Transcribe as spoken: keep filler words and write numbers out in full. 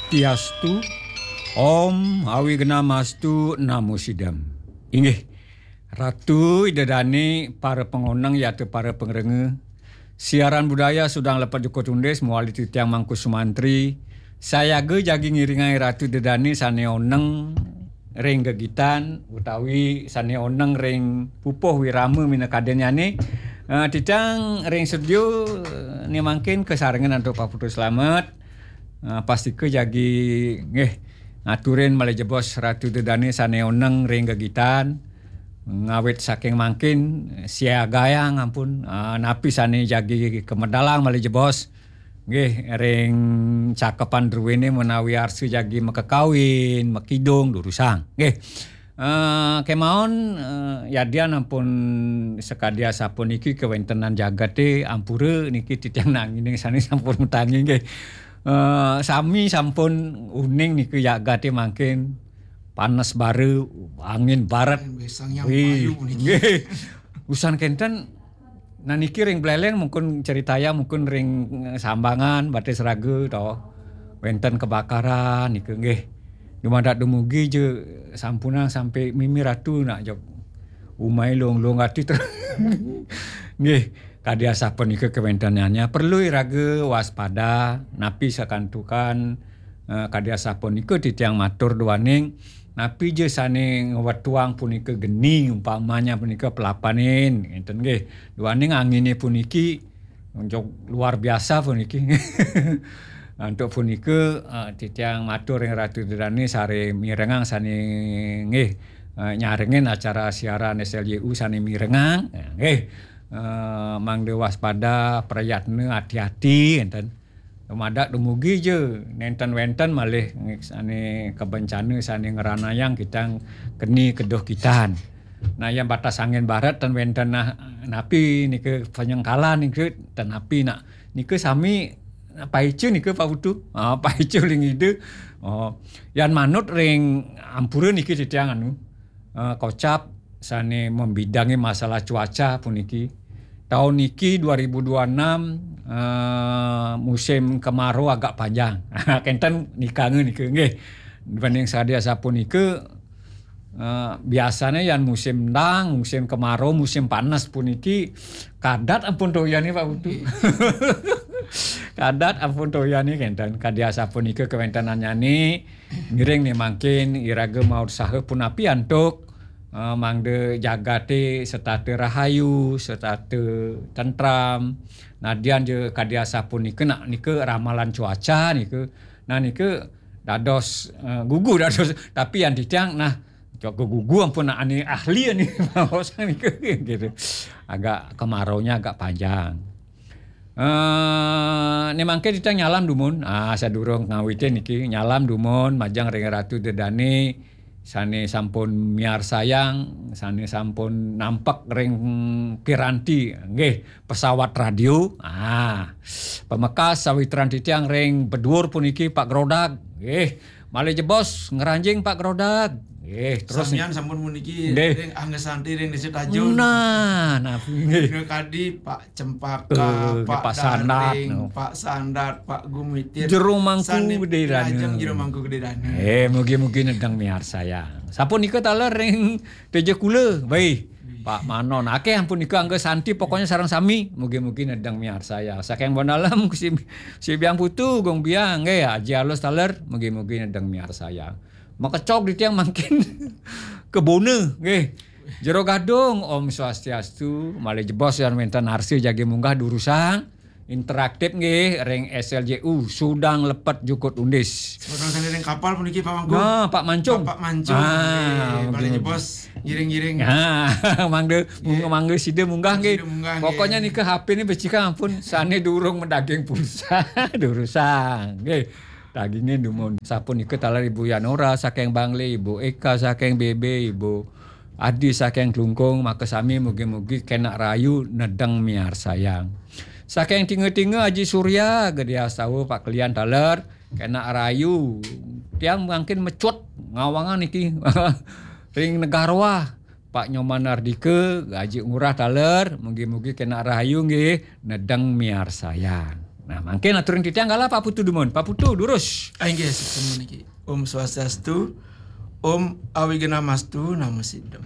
Swastiastu, Om Awighnamastu Namo Sidam. Inggih, Ratu Ida Dane, para pangoneng yata para pangrengga. Siaran budaya Sudang Lepet Jukut Undis, mawali titiang Mangku Sumantri. Sayaga jagi ngiringang Ratu Ida Dane sane oneng ring gegitan utawi sane oneng ring pupuh wirama minakadinnyane. Eh, titiang ring studio, eh, ne mangkin kasarengan antuk Pak Putu Slamet. Eh, pastika jagi nggih ngaturin malih jebos Ratu Ida Dane sane oneng ring gegitan. Ngawit saking mangkin siagayang ampun, eh, napi sane jagi kamedalang malih jebos. Nggih, ring cakepan druene menawi arsa jagi makakawin, makidung, durusang. Nggih. Eh, kemawon, eh, yadian ampun sakadi asapuniki kawentenan jagate ampura niki titiang nangining sane sampun matangi nggih. Eh, sami sampun uning nika jagate mangkin panes bara, angin baret. Angin besang yang Wih, payu puniki. Nggih. Usan kenten Nah, niki ring Buleleng mungkin ceritaya mungkin ring, eh, Sambangan, Batis Raga to. Wenten kebakaran nika nggih. Dumadak dumugi ja sampunang sampai mimi ratu nak jok. Umai lung-lung ati terus. Nggih, kadi asapunika kawentenannya perlu iraga waspada napi sakantukan, eh, kadi asapunika titiang matur duaning napi ja sane ngwetuang punika geni, umpamanya punika pelapanin, ngenten nggih. Duaning angine puniki, jok luar biasa puniki. Antuk punika, eh, titiang matur ring Ratu Ida Dane sare mirengang sane nggih, eh, nyarengin acara siaran S L J U sane mirengang, nggih. Eh, mangda waspada, prayatna, ati-ati, ngenten. Dumadak dumugi ja, nenten wenten malih sane kabencana sane ngranayang kitang keni keduh kitan. Nah, yang batas angin barat ten wenten nah, napi nika penyengkalan nika ten napi nak. Nika sami paica nika Pak Putu. Ah, paica ling ida. Oh, yan manut ring ampura niki titiang anu, eh, kocap sane membidangi masalah cuaca puniki. Taun niki dua ribu dua enam, eh, musim kemarau agak panjang. Kenten nikanga nika nggih. Dibanding sadia sapunika, eh, biasane yan musim endang, musim kemarau, musim panas puniki kadat ampun toyane Pak Putu. Nggih. Kadat ampun toyane kenten. Kadi asapunika kawentenannyane ngiring ne mangkin iraga mautsaha punapi antuk, eh, mangda jagate setata rahayu, setata tentram. Nadian ja kadi asapunika nak nika ramalan cuaca nika. Nah nika dados, eh, gugu dados tapi yang titiang nah cok gugu ampun nak ane ahli ane maos nika gitu. Agak kemaraunya agak panjang. Eh, ne mangke titiang nyalam dumun. Ah, sadurung ngawitin niki, nyalam dumun majeng ring Ratu Ida Dane sane sampun miarsayang, sane sampun nampek ring piranti, nggih, pesawat radio. Ah, pamekas sawitran titiang ring beduur puniki Pak Grodag. Nggih, malih jebos ngranjing Pak Grodag. Nggih, terus samian sampun puniki nggih. Ring Angga Santi ring Desa Tajun. Nah, nah, nggih. Nika kadi Pak Cempaka, eh, Pak Pak Sandat, Daring, no. Pak Sandat, Pak Gumitir. Jero Mangku sane Gede Dana. Lajeng Jero Mangku Gede Dana. Eh, mugi-mugi nedeng miarsayang. Sapunika taler ring Teja Kula, baik. Pak Manon, akeh ampun nika Angga Santi, pokoknya sareng sami, mugi-mugi nedeng miarsayang. Saking Bonalem, si, si Biang Putu, Gong Biang, nggih, Aji Alus taler, mugi-mugi nedeng miarsayang. Makecog di tiang mangkin kebona, nggih. Jero Gadung, Om Swastiastu, malih jebos yan wenten arsa jagi munggah durusang, interaktif nggih, ring S L J U, Sudang Lepet Jukut Undis. Sudang sanding ring kapal puniki, Pak Mangku. Nah, Pak Mancung. Pak, Pak Mancung. Ah, nggih, malih jebos, ngiring-ngiring. Ah, mangga, nggih. Mangga sida munggah nggih. Sida munggah, nggih. Pokoknya nika H P ni becikang ampun, sane durung medaging pulsa, durusang, nggih. Daginge dumun. Sapunika taler Ibu Yanora saking Bangli, Ibu Eka saking B B, Ibu Adi saking Klungkung, maka sami mugi-mugi kenak rayu nedeng miarsayang. Saking Tinga-Tinga Aji Surya, Gede Astawa, Pak Kelian taler, kenak rayu. Tiang mangkin mecut ngawangan niki. Ring Negaroa, Pak Nyoman Ardika, Aji Ngurah taler, mugi-mugi kenak rahayu nggih, nedeng miarsayang. Nah, mangkin aturan titiang, kala Pak Putu dumun. Pak Putu, durus. Ah, inggih, suksma niki. Om Swastiastu, Om Awignamastu, Namo Siddham.